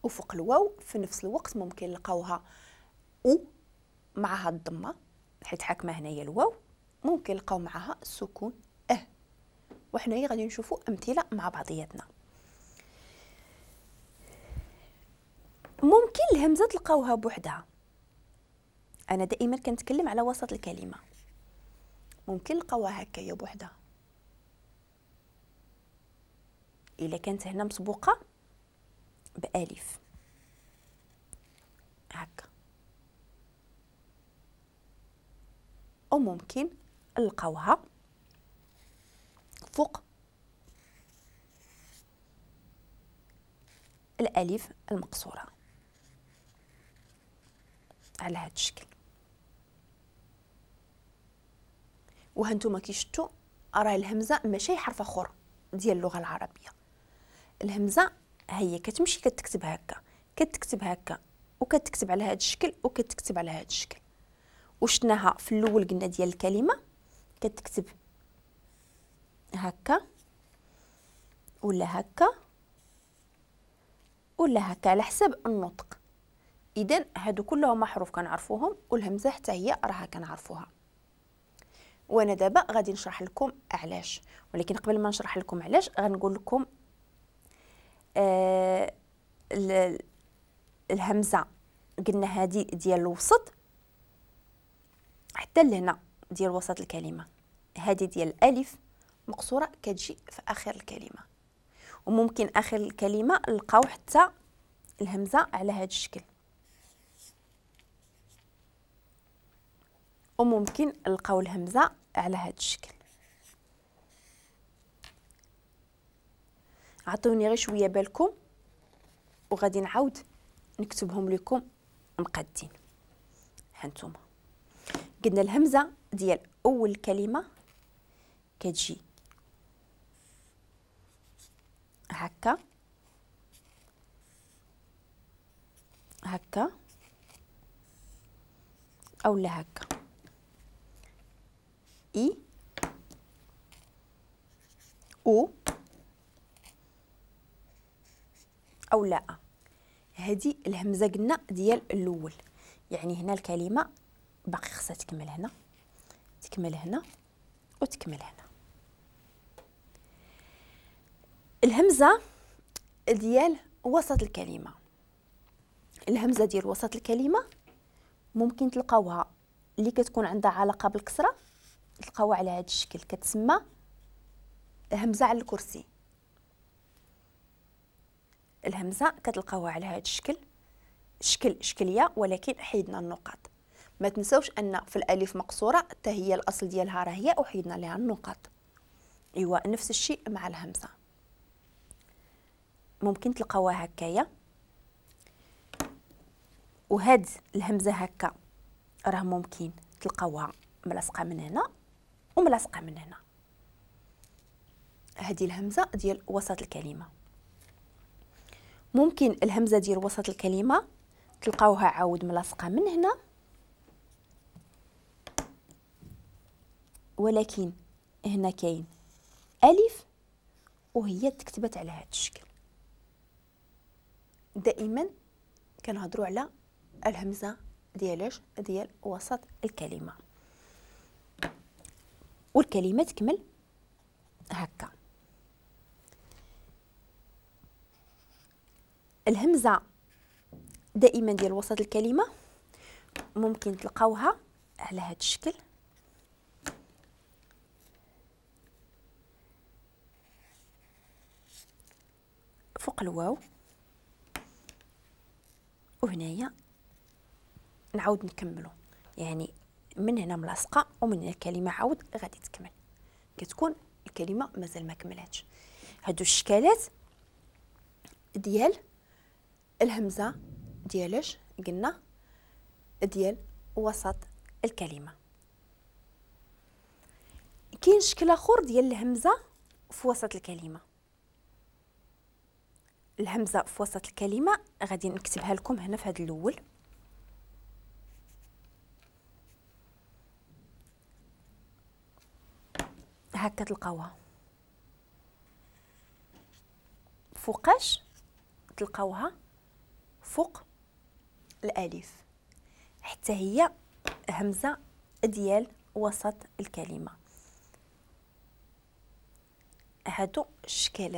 وفوق الواو في نفس الوقت ممكن نلقاوها او معها الضمة حيت حاكمه هنايا الواو، ممكن نلقاو معها السكون اه. وحنايا غادي نشوفوا امثلة مع بعضياتنا. ممكن الهمزة تلقاوها بوحدها، انا دائما كنتكلم على وسط الكلمة، ممكن نلقاوها هكايا بوحدها الا كانت هنا مسبوقة بالف هكا، او ممكن نلقاوها فوق الالف المقصورة على هذا الشكل. وهانتوما كي شفتوا راه الهمزة ماشي حرف اخر ديال اللغة العربية، الهمزة هي كتمشي كتكتب هكا، كتكتب هكا، وكتكتب على هذا الشكل، وكتكتب على هذا الشكل. وشناها في الاول قلنا ديال الكلمة كتكتب هكا ولا هكا ولا هكا على حسب النطق. اذا هادو كلهم حروف كنعرفوهم، والهمزة حتى هي راها كنعرفوها. وانا دابا غادي نشرح لكم علاش، ولكن قبل ما نشرح لكم علاش غنقول لكم الهمزة قلنا هذه ديال الوسط حتى لهنا ديال وسط الكلمة، هذه ديال الالف مقصورة كتجي في اخر الكلمة، وممكن اخر الكلمة نلقاو حتى الهمزة على هذا الشكل، وممكن نلقاو الهمزة على هذا الشكل. عطوني غير شوية بالكم وغادي نعاود نكتبهم لكم مقادين. هانتوما قلنا الهمزة ديال اول كلمة كتجي هكا هكا او لا هكا، اي او او لا. هذه الهمزة قلنا ديال الاول، يعني هنا الكلمة باقي خصها تكمل هنا، تكمل هنا، وتكمل هنا. الهمزة ديال وسط الكلمة، الهمزة ديال وسط الكلمة ممكن تلقاوها اللي كتكون عندها علاقة بالكسرة، تلقاوها على هذا الشكل، كتسمى همزه على الكرسي. الهمزة كتلقاوها على هذا الشكل، شكل شكلية ولكن حيدنا النقاط. ما تنساوش ان في الالف مقصورة حتى هي الاصل ديالها راه هي وحيدنا لها النقاط. ايوا نفس الشيء مع الهمزة، ممكن تلقاوها هكايا، وهاد الهمزة هكا راه ممكن تلقاوها ملاصقه من هنا وملاصقه من هنا. هذه الهمزة ديال وسط الكلمة. ممكن الهمزة ديال وسط الكلمة تلقاوها عاود ملاصقه من هنا، ولكن هنا كاين الف وهي تكتبت على هذا الشكل. دائما كنهضروا على الهمزة ديالاش؟ ديال وسط الكلمة، والكلمة تكمل هكا. الهمزة دائما ديال وسط الكلمة ممكن تلقاوها على هذا الشكل، فوق الواو، وهنايا نعاود نكملو، يعني من هنا ملاصقه ومن هنا الكلمة عاود غادي تكمل، كتكون الكلمة مازال ما كملاتش. هادو الشكالات ديال الهمزة ديالاش قلنا؟ ديال وسط الكلمة. كاين شكل اخر ديال الهمزة في وسط الكلمة. الهمزة في وسط الكلمة غادي نكتبها لكم هنا في هذا الاول. هكا تلقاوها فوقاش؟ تلقاوها فوق الالف، حتى هي همزه ديال وسط الكلمه. هادو الشكالات.